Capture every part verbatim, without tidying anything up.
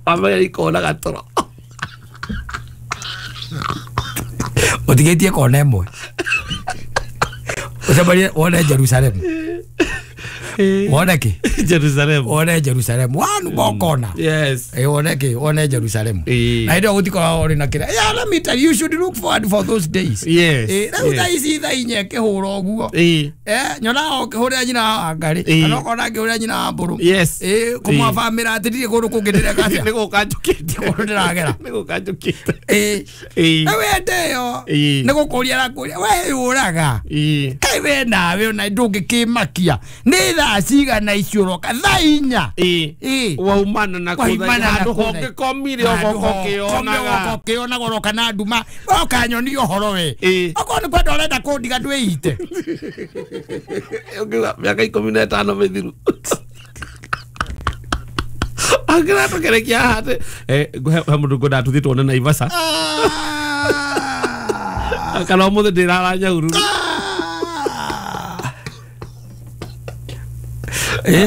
Amenya ikonaga toro. Ũtigĩtie kona ĩmwe. Ũcemanie wone Jerusalem. Wone kĩ? Jerusalem. Wone Jerusalem. Wanu mokona. Yes. Eh wone kĩ? Wone Jerusalem. Ĩĩ. Na hĩndĩ ĩyo gũtikoragwo ũrĩ na kĩrĩa. Yeah, let me tell you, you should look forward for those days. Yes. Eh, rĩu thaa ici thaa inya ĩkĩhũra ũguo. Ĩĩ. Eh, nyonaga ũkĩhũrĩra nyina wa Ngarĩ. Ĩĩ. Kana ũkona ngĩhũrĩra nyina wa Mbũrũ. Yes. Eh, kũmwabamĩra atĩ ndirĩ kũndũ kũngĩ ndĩreka atĩa. Nĩ gũka njũkĩte. Kũndũ ndĩragera. Nĩ gũka njũkĩte. Ĩĩ. Ĩĩ. Na wende ĩyo. Ĩĩ. Nĩ gũkũria arakũria. We yũraga. Ĩĩ. Kaĩ we nawe ona ndũngĩkĩmakia. Nĩ thaa cigana icio ũroka? Thaa inya. Ĩĩ. Ĩĩ. Waumana na Waumana na handũ kũtha- hongĩkomire ũgoka ũkĩonaga. ũkĩonaga ũroka na nduma. Woka nyonia ũhoro we. Ĩĩ. Okorwo nĩ kwenda ũrenda kũndiga ndwĩite. Ũngiuga mĩaka ikũmi na ĩtano mĩthiru. Angĩratũkerekia haha atĩ eh, he he mũndũ ngwendaga tũthiĩ tuone Naivasha. Ah. Kana ũmũthĩ ndĩrara Nyahururu. Ah.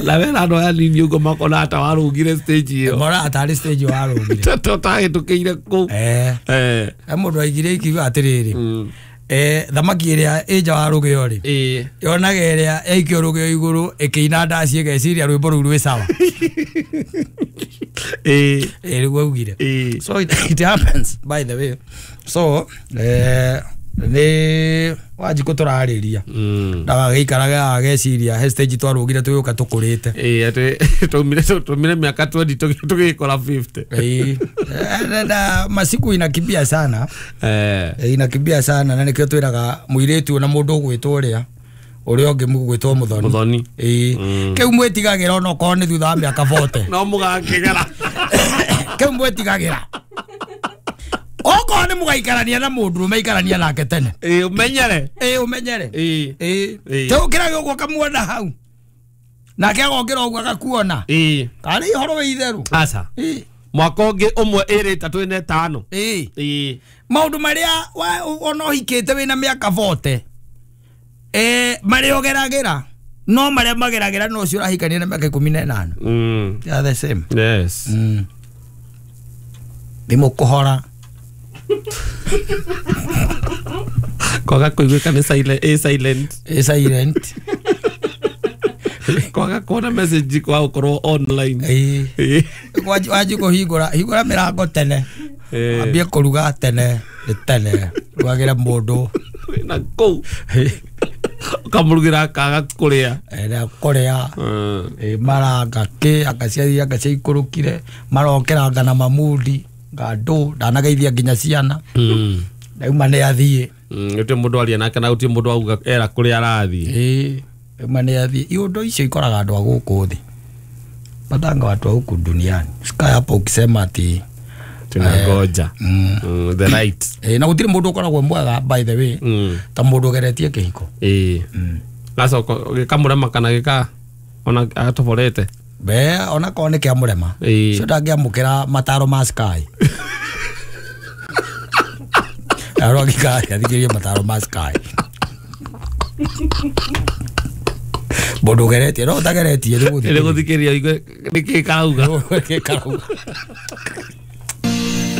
Na wena andũ aya nini ũguo makona ta warũgire stage ĩyo. Mora atarĩ stage warũgire. Tũtahĩtũkĩire kũu. Eh. Eh. He mũndũ aigire ikiuga atĩrĩrĩ. Mm. Eh, thamaki ĩrĩa ĩ nja wa rũgĩo rĩ. Ĩĩ. Yonaga ĩrĩa yaikio rũgĩo igũrũ ĩkĩina ndaci ĩgeciria rwĩmbo rũu rwĩ sawa. Ĩĩ. Ĩ nĩguo augire. Ĩĩ. So it, it happens by the way. So eh nĩ Wanjikũ tũrarĩria. Mm. Ndagagĩikaraga ageciria he stage twarũgire tũgĩũka tũkũrĩte. Ĩĩ atĩ twaumire twaumire mĩaka twenty tũgĩkora fifty. Ĩĩ. Eh, na masiku inakimbia sana. Eh. Eh, inakimbia sana na nĩkĩo twĩraga mũirĩtu na mũndũ ũgwĩtwo ũrĩa ũrĩa ũngĩ mũgwĩtwo Mũthoni. Mũthoni. Ĩĩ. Mm. Kĩu mwĩtigagĩra ona okorwo nĩ thutha wa mĩaka forty. No mũgakĩgera. Kĩu mwĩtigagĩra. Okorwo nĩ mũgaikarania na mũndũ ũmeikarania nake tene. Ĩĩ ũmenyere. Ĩĩ ũmenyere. Ĩĩ. Ĩĩ. Ĩĩ. Tũkĩraga ũguo ũkamuona hau. Nake agokĩra ũguo agakuona. Ĩĩ. Karĩ ũhoro wĩ itherũ. Aca. Ĩĩ. Mwaka ũngĩ ũmwe ĩrĩ ĩtatũ ĩna ĩtano. Ĩĩ. Ĩĩ. Maũndũ marĩa wa- ona ũhikĩte wĩna mĩaka forty. Eh, marĩa ũgeragĩra no marĩa mageragĩra no ũcio ũrahikania na mĩaka ikũmi na ĩnana. Mm. They are the same. Yes. Mm. Thimũ kũhora. Kwaga kũiguĩka nĩ silent, ĩ silent. Ĩ silent. Kwaga kuona message kwa gũkorwo online. Ĩĩ. Ĩĩ. Wanji wanji kũhingũra hingũra mĩrango tene. Ĩĩ. Ambie kũruga tene nĩ tene. Rugagĩre mũndũ. Wĩna kũu. Ũkamũrugĩra akaga kũrĩa. Ĩrĩa kũrĩa. Mm. Ĩ maranga kĩ akaciaria akaciaikũrũkire marokĩranga na mamundi ngandũ ndanageithia nginya ciana. Mm. Ndauma nĩ athiĩ. Mm, gũtirĩ mũndũ aria nake na gũtirĩ mũndũ auga era kũrĩa arathiĩ. Ĩĩ ndauma nĩ athiĩ. Iũndũ icio ikoraga andũ a gũkũ thĩ. Patanga watu wa huku duniani. Usikae hapo ukisema ati Tunangoja. mm. Mm, the right. Ĩ na gũtirĩ mũndũ ũkoragwo mwega by the way Mm. ta mũndũ ũgeretie kĩhiko. Ĩĩ. Mm. Gacoka gĩkamũrema kana gĩka ona atoborete. Be ona korwo nĩ kĩamũrema. Ĩĩ. Ũcio ndangĩamũkĩra mataro ma Sky. Arĩa angĩka athikĩrĩrie mataro ma Sky. Mũndũ ũgeretie no ũtageretie nĩ Nĩ gũthikĩrĩria igue nĩkĩ karauga. Nĩkĩ karauga.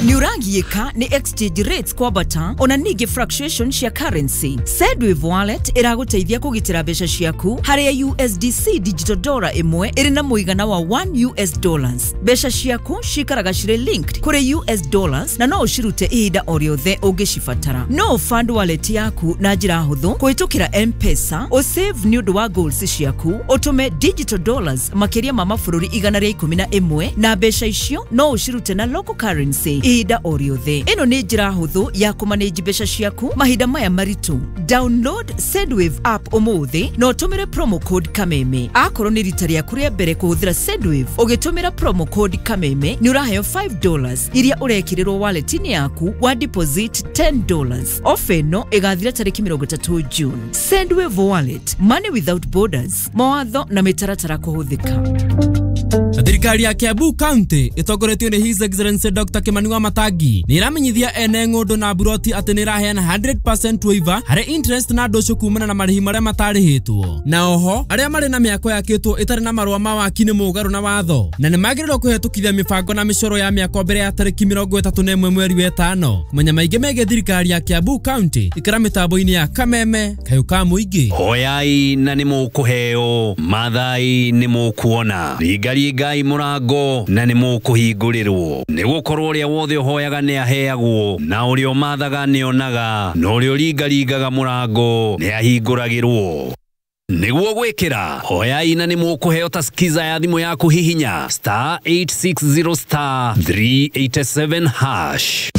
Nĩ ũragiĩka nĩ exchange rates kwambata ona ningĩ fluctuation cia currency. Sendwave Wallet ĩragũteithia kũgitĩra mbeca ciaku harĩa U S D C digital dollar ĩmwe ĩrĩ na mũigana wa one U S dollars. Mbeca ciaku cikaraga cirĩ linked kũrĩ U S dollars na no ũcirute ihinda o rĩothe ũngĩcibatara. No fund wallet yaku na njĩra hũthũ kũhĩtũkĩra M-Pesa, ũsave nĩ ũndũ wa goals ciaku, ũtũme digital dollars makĩria ma mabũrũri igana rĩa ikũmi na ĩmwe na mbeca icio no ũcirute na local currency ihinda o rĩothe. Ĩno nĩ njĩra hũthũ ya kũmanage mbeca ciaku mahinda maya maritũ. Download Sendwave app ũmũthĩ na ũtũmĩre promo code Kameme. Akorwo nĩ rita rĩaku rĩa mbere kũhũthĩra Sendwave, ũgĩtũmĩra promo code Kameme nĩ ũraheo five dollars iria ũrekĩrĩrwo wallet-inĩ yaku wa deposit ten dollars. Ofa ĩno ĩgathira tarĩki mĩrongo ĩtatũ June. Sendwave Wallet, money without borders. Mawatho na mĩtaratara kũhũthĩka. Thirikari ya Kiambu County ĩtongoretio nĩ His Excellency Doctor Kimani wa Wamatangi nĩ ĩramenyithia ene ng'ũndũ na buroti atĩ nĩ ĩraheana hundred percent waiver harĩ interest na ndũcũ kumana na marĩhi marĩa matarĩhĩtwo. Na oho arĩa marĩ na mĩako yakĩtwo ĩtarĩ na marũa ma waki nĩ mũgarũ na watho na nĩ magĩrĩirwo kũhetũkithia mĩbango na mĩcoro ya mĩako mbere ya tarĩki mĩrongo ĩtatũ na ĩmwe mweri wa ĩtano. Kũmenya maingĩ megiĩ thirikari ya Kiambu County, ikara mĩtambo-inĩ ya Kameme Kayũ ka Mũingĩ. Hoyai na nĩ mũkũheo, mathai nĩ mũkuona, ringaringai mũrango na nĩ mũkũhingũrĩrwo, nĩ gũkorwo ũrĩa wothe ũhoyaga nĩ aheagwo, na ũrĩa ũmathaga nĩ onaga, na ũrĩa ũringaringaga mũrango nĩ ahingũragĩrwo. Nĩguo gwĩkĩra hoyai na nĩ mũkũheo ta skiza ya thimũ yaku, hihinya star eight six zero star three eight seven hash.